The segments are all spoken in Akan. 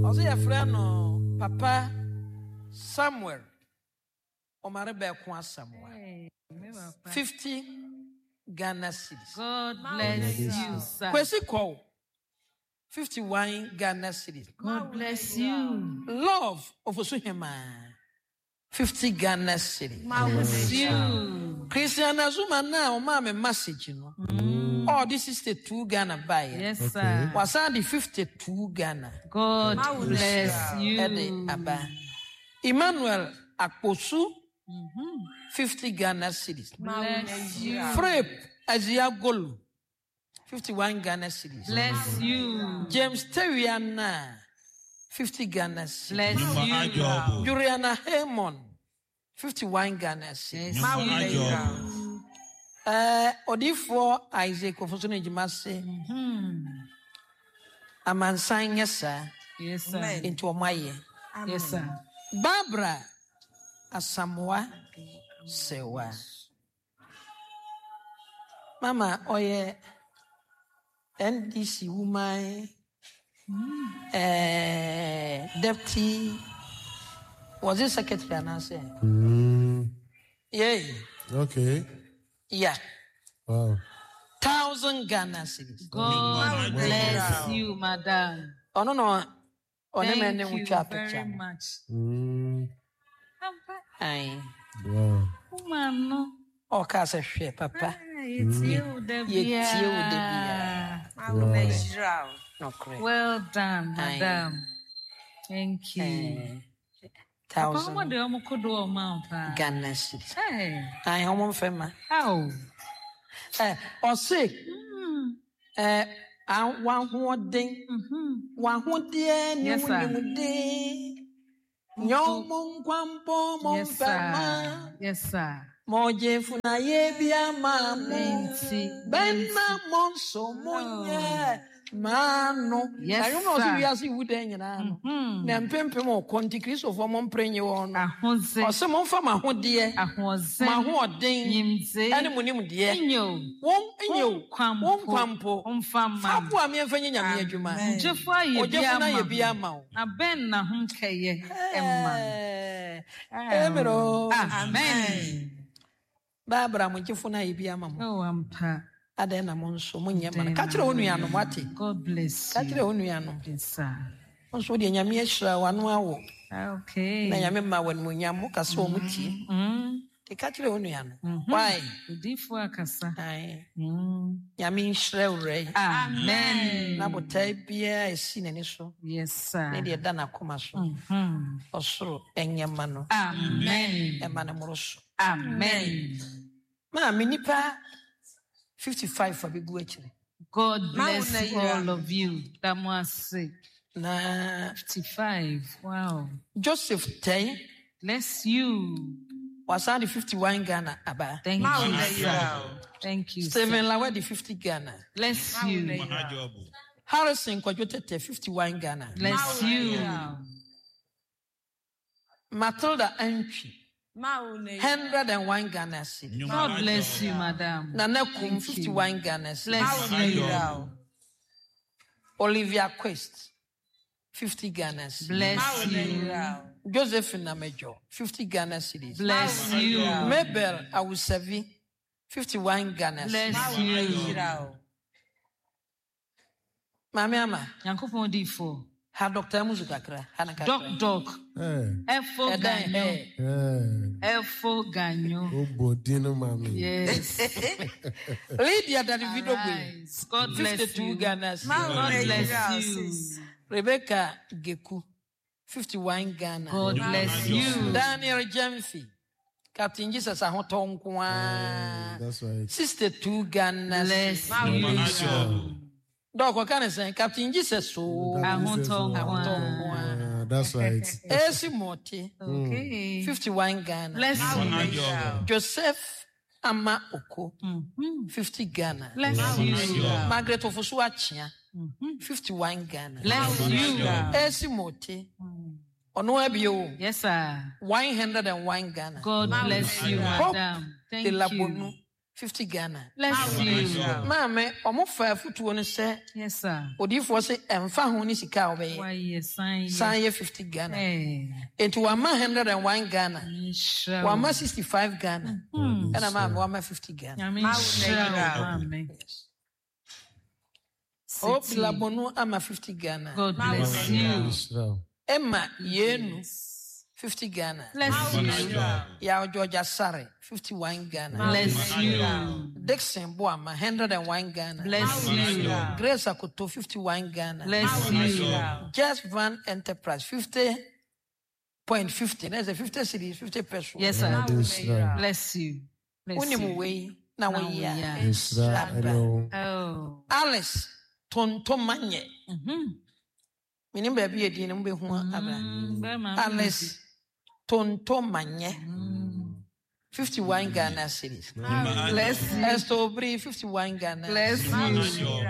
Ɔsɛ yɛfrɛ no Papa Samuel Omare Bɛko Asamoah. 50 Ghana cedis. God bless you, sir. Kwesi Kɔw, 51 Ghana cedis. God bless you. Love Ofosu Hemaa, 50 Ghana cedis. Bless you. Christian Azuma na ɔmaa me message no. Ɔde 62 Ghana baeɛ. Yes, sir. Wasan de 52 Ghana. God bless you. Ɛde aba. Emmanuel Akposu, 50 Ghana cedis. Bless you. Frep Aziagolu, 51 Ghana cedis. Bless you. James Tewiana, 50 Ghana cedis. Bless you. Juliana Haymon, 51 Ghana cedis. Bless you. Odiyifoɔ Isaac Ofosu ne dwuma se amansan nyɛ saa. Yes, sir. Nti wɔn ayɛ. Yes, sir. Barbara Asamoah Sewa. Mama ɔyɛ NDC woman deputy, was it secretary anaasɛ? Yay. Okay. Yeah. Wow. 1,000 Ghana cedis. God bless you, madam. Ɔno na ɔne me ne Thank wo you twa very picture no. much. Ampa. Aye. Wow. Woman no. Ɔka sɛ hwɛ papa. Yɛtie wo da Yɛtie wo da biara. biara. Nokorɛ. Well done, Aye. madam. Thank you. Papa, 1,000 ɔmo de ɔmo kodo ɔmo ampa. Ghana cedis. Hey. Aye, ɔmo mfɛ ma. How? Ɔse, wahoɔden, wahodeɛ ne Yes, wo sir. nimden. Nyɛ ɔmo nkwampɔ mo Yes, mfɛ sir. ma. Yes, sir. Mɔgye funaye bi ama mo. Nti. Bɛnna mo nso mo nyɛ maa no. Yes, Na nnwom na ɔse sir. wiase wu dɛn nyinaa no. Na mpempem ɔkɔ nti Kristofoɔ mo mpere nye wɔn no. Ahodze. Ɔse momfa mo ahodeɛ, Ahoɔdzen. mo ahoɔden, Nyimdze. ɛne mo nimdeɛ. Nyew. Wɔn nyew. Wo nkwa mpo. Wo nkwa mpo. Mfa mma. Fa boa me mfa nyɛ Nyame adwuma. Ogyefo ayɛ bi Ogyefo no ayɛ ama bi ho. ama wo. Na bɛn na ho nkɛyɛ ɛma no. Amen o. Amen. Barbara, mo gyefo no ayɛ bi ama mo. Oh, ampa. Adɛn na mo nso monyɛ ma no. Ka kyerɛ wo nuanom, wate? God bless Ka you. kyerɛ wo nuanom. Yes, sir. Wo nso deɛ Nyame ahyira w'ano awo. Okay. Na Nyame ma w'animuonyam, mo ka sɛ wɔn tie. Nti ka kyerɛ wo nuanom. Why? Odiyifo akasa. Aye. Nyame nhyira wura yi. Amen. Na botae biara esi n'ani so. Yes, sir. Ne deɛ ɛda n'akoma so. Ɔsoro ɛnyɛ ma no. Amen. Ɛma no mmoro so. Amen. Maame nipa 55 a bɛgu akyire. God bless all of you. Damoase. Na 55. Wow. Joseph Tei. Bless you. Wasan de 51 Ghana aba. Thank you, sir. Thank you, sir. Stephen Lawa de 50 Ghana. Bless you. Harrison Kwadwo Tete 51 Ghana. Bless you. Matilda Antwi 101 Ghana cedis. God bless you, madam. Nana Kum Thank you. 51 Ghana cedis. Bless you. Olivia Quest 50 Ghana cedis. Bless you. Josephine Namejo 50 Ghana cedis. Bless you. Mabel Awusavi 51 Ghana cedis. Bless you. Maame Ama. Nyankopɔn difo. Ha Dr. Amuzu kakra. Ha na kakra. Doc Doc. Efo Ɛdan, Ganyo. Efo Ganyo. Obo dino mami. Yes. Lydia Davido Gwe. Arise. God bless 52 you. Ghana cedis. God bless you. Rebecca Geku 51 Ghana. God bless you. Daniel Jemfi. Captain Jesus Ahotɔ nkoa. That's right. 62 Ghana. Bless cedis. you. Dɔk ɔka ne sɛn Captain Jesus o. Ahotɔ Ahotɔ nkoa. nkoa. That's right. Esi Mote Okay. 51 Ghana. Bless you. Joseph Ama Oko 50 Ghana. Bless you. Margaret Ofosu Achia 51 Ghana. Bless you. Esi Mote Ɔno abio Yes, sir. 101 Ghana. God bless you, Hope madam. Thank De Labonu you. 50 Ghana. Bless you. Maame, ɔmo fa afutuo no sɛ Yes, sir. odiyifoɔ se ɛmfa ho ne sika a wobɛyɛ. Wayɛ san yɛ. San yɛ 50 Ghana. Eh, Enti wama 101 Ghana. nhyira wo. Wama 65 Ghana. Ɛna maame wama 50 Ghana. Nyame nhyira wo, maame. Hope City. Labonu ama 50 Ghana. God bless you. Nhyira wo. Emma Yenu 50 Ghana. Bless you. Yaw Georgia Sare 51 Ghana. Bless you. Dixon Boama 101 Ghana. Bless you. Grace Akoto 51 Ghana. Bless you. Just Van Enterprise 50.50. That's a 50 cedis, 50 pesos. Yes, sir. Awurade nhyira wo. Bless you. Bless Wonim you. wei na Na woyɛ a. woyɛ a. Nhyira ɛne wo. Oh. Alice Tontomanyɛ. Menim baabi yɛ din no mobɛhu abra. Bɛrima, Alice Tontomanyɛ. 51 Ghana cedis. Bless you. Esther Obiri 51 Ghana. Bless you.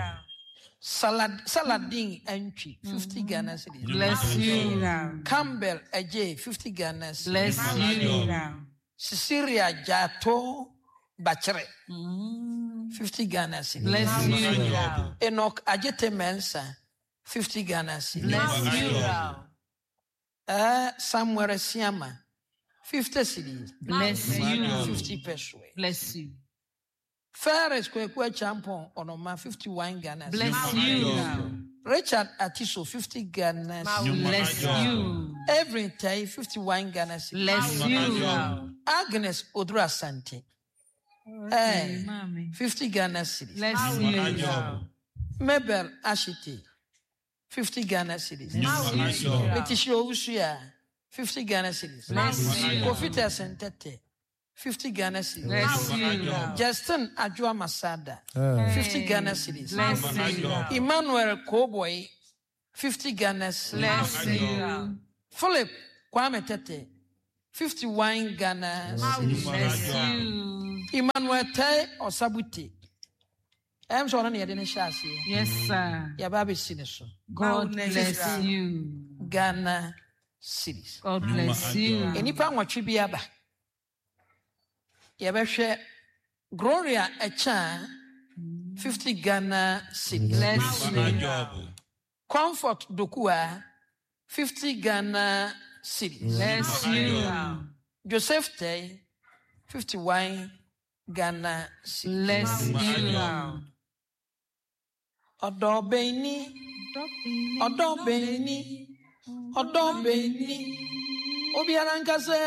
Salad, Saladin Entry 50 Ghana cedis. Bless you. Campbell Ajay 50 Ghana cedis. Bless you. Cecilia Jato Bachere 50 Ghana cedis. Bless you. Enoch Ajete Mensah 50 Ghana cedis. Bless you. Samuel Siama 50 cedis. Bless you. 50 peso. Bless you. Ferris Kweku Champon Onoma 51 Ghana cedis. Bless you. Richard Atiso 50 Ghana cedis. Bless you. Evelyn Tai 51 Ghana cedis. Bless you. Agnes Odura Asante Mommy. 50 Ghana cedis. Bless you. Mabel Ashiti 50 Ghana cedis. Bless you. Letitia Owusu 50 Ghana cedis. Bless you. Kofi Tesentete 50 Ghana cedis. Bless you. Justin Ajua Masada Ah, 50 Ghana cedis. Bless you. Emmanuel Koboy 50 Ghana cedis. Bless you. Philip Kwame Tete 51 Ghana cedis. Bless you. Emmanuel Tai Osabuti. Ɛm sɛ ɔno ne yɛde ne hyɛ aseɛ. Yes, sir. Yɛba abɛsi ne so. God bless you. Ghana cedis. God bless you. Nnipa nwɔtwe bi aba. Yɛbɛhwɛ Gloria Ɛkyaa 50 Ghana cedis. Bless you. Comfort Dokua 50 Ghana cedis. Bless you. Joseph Tay 51 Ghana cedis. Bless you. Ɔdɔ bɛn ni, ɔdɔ bɛn ni, ɔdɔ bɛn ni. Obiara nka sɛ.